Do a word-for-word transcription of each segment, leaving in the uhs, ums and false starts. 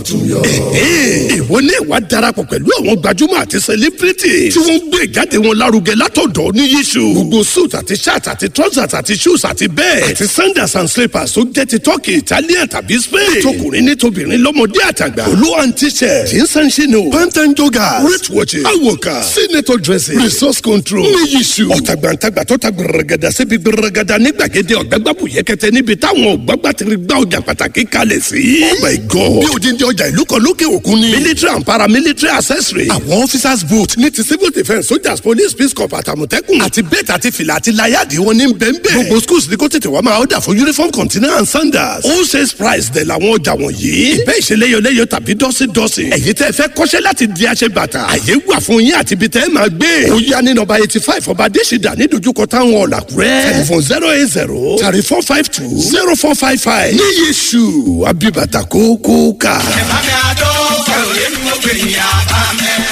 Ìwọ ní ìwà darapọ̀ pẹ̀lú àwọn gbajúmọ̀ àti celebrity tí wọ́n ń gbé ìjáde wọn lárugẹ látọ̀dọ̀ ní yíṣu. Gbogbo suit àti shirt àti trousers àti shoes àti bẹ́ẹ̀ àti sandals and slippers tó jẹ́ ti Turkey, Italian tàbí Spain. Tọkùnrin ní tobìnrin, lọ́mọdé àtàgbà. Olú and t-shirt, jeans and chino, pant and joggers, wrist watches, awoka, senator dressing, resource control ní yíṣu. Ọ̀tàgbàǹtàgbà tó ta gbẹrẹgàdà síbi gbẹrẹgàdà ní gbàgede ọ̀gbẹ́gbàbù yẹkẹtẹ níbi táwọn ọ̀gbàgbà ti gbá ọjà pàtàkì kalẹ̀ sí. Oh my God! Bí odindi ọjà ìlú kan lókè òkun ni. Military and paramilitary accessory. Àwọn officers boot ní ti civil defence, soldiers, police, peace corps, àtàmọ̀tẹ́kùn. Àti bẹ́ẹ̀tì àti fìlà àti láyàdì wọn ní bẹ́ẹ̀nbẹ́ẹ̀. Gbogbo schools ní kó tètè wá máa order fún uniform, container and sandals. Wholesale price dẹ̀ làwọn ọjà wọ̀nyí. Ìbẹ́ ìṣeléyọléyọ tàbí dọ́sídọ́sí. Ẹ̀yin tẹ́ fẹ́ kọ́ṣẹ́ láti di aṣebàtà, àyè wà fún yín àti ibi tẹ́ máa gbé. Ó yá ní nọ́mbà eighty five Ọba Adésìdá ní dojúkọ táwọn ọ̀làkúrẹ́. Telephone zero eight zero thirty four five two zero four five five. Ní Yéṣu Abibata kókó ká.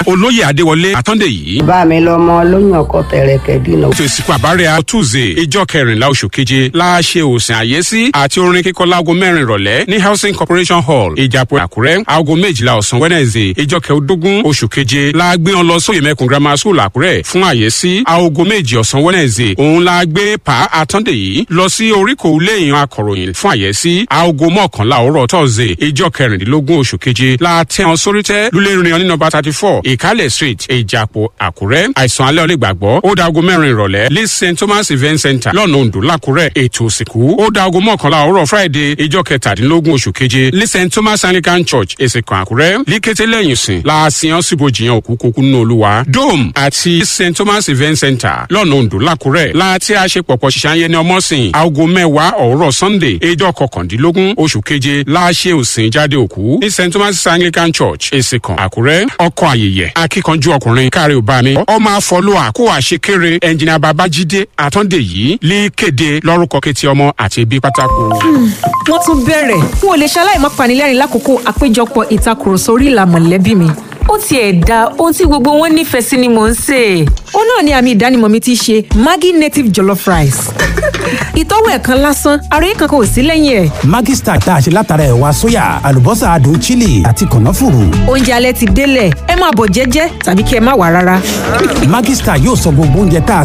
Olóyè Adéwọlé Àtọ́ndé yìí. Bá mi lọmọ lóyún ọkọ tẹrẹkẹ dínà. Ètò ìsìnkú àbárẹ̀ Tuesday, ìjọ kẹrìnlá oṣù keje la ṣe òsìn àyẹ́sí àti orin kíkọ láago mẹ́rin ìrọ̀lẹ́ ní Housing Corporation Hall, Ìjàpọ̀, Àkúrẹ́. Aago méjìlá ọ̀sán Wednesday, ìjọ kẹẹ̀ẹ́dógún oṣù keje la gbé wọn lọ sóyè mẹ́kùn Grammar School, Àkúrẹ́ fún àyẹ́sí. Aago méjì ọ̀sán Wednesday òun la gbé Pa Àtọ́ndé yìí lọ sí oríkò ilé ìyàn akọ̀ròyìn fún àyẹ́sí. Aago mọ́kànlá òwúrọ̀ Thursday, ìjọ kẹrìndínlógún oṣù keje la tẹ́ wọn sórí tẹ́ lulẹ̀ rìn ní nọ́mbà thirty four Ìkálẹ̀ Street, Ìjàpọ̀, Àkúrẹ́. Àìsàn alẹ́ onígbàgbọ́ ó da aago mẹ́rin ìrọ̀lẹ́ ní Saint Thomas Event Center, lọ́nà Oǹdó, Lákúrẹ́. Ètò òsìnkú ó da aago mọ́kànlá òwúrọ̀ Friday, ìjọ kẹtàdínlógún oṣù keje ní Saint Thomas Anglican Church, Èsìkàn, Àkúrẹ́. Líkété lẹ́yìn sìn láàsìyàn síbojìyàn òkú kókó nínú Olúwa. Dome àti Saint Thomas Event Center, lọ́nà Oǹdó, Lákúrẹ́ láti àṣepọ̀pọ̀ ṣiṣẹ́ ní ọmọsìn. Aago mẹ́wàá òwúrọ̀ Sunday, ìjọ kọkàndínlógún oṣù keje láṣẹ òsìn jáde òkú ní Saint Thomas Anglican Church, Èsìkàn, Àkúrẹ́. Ọkọ àyèyẹ, akíkanjú ọkùnrin, káre ò bá mi, ọmọ àfọlùwà kó àṣekéré, ẹnjìnà Babájídé Àtọ́ndé yìí lè kéde lórúkọ kétí ọmọ àti ẹbí pátákó. Wọ́n tún bẹ̀rẹ̀. N ò lè ṣaláì má panilẹ́rìn lákòókò àpéjọpọ̀ ìtakùrọ̀sọ orí ìlà mọ̀lẹ́bí mi. Ó tiẹ̀ da ohun tí gbogbo wọn nífẹ̀ẹ́ sí ni mò ń sè é. Ó náà ni àmì ìdánimọ̀ mi ti ṣe Maggi native jollof rice. Ìtọ́wò ẹ̀kan lásán, ara yìí kankan ò sí lẹ́yìn ẹ̀. Maggi Star tá a ṣe látara ẹ̀wà sóyà, àlùbọ́sà, adùn chili àti kànáfùrù. Oúnjẹ alẹ́ ti délẹ̀, ẹ máa bọ̀ jẹ́jẹ́ tàbí kí ẹ má wà rárá. Maggi Star yóò sọ gbogbo oúnjẹ tá a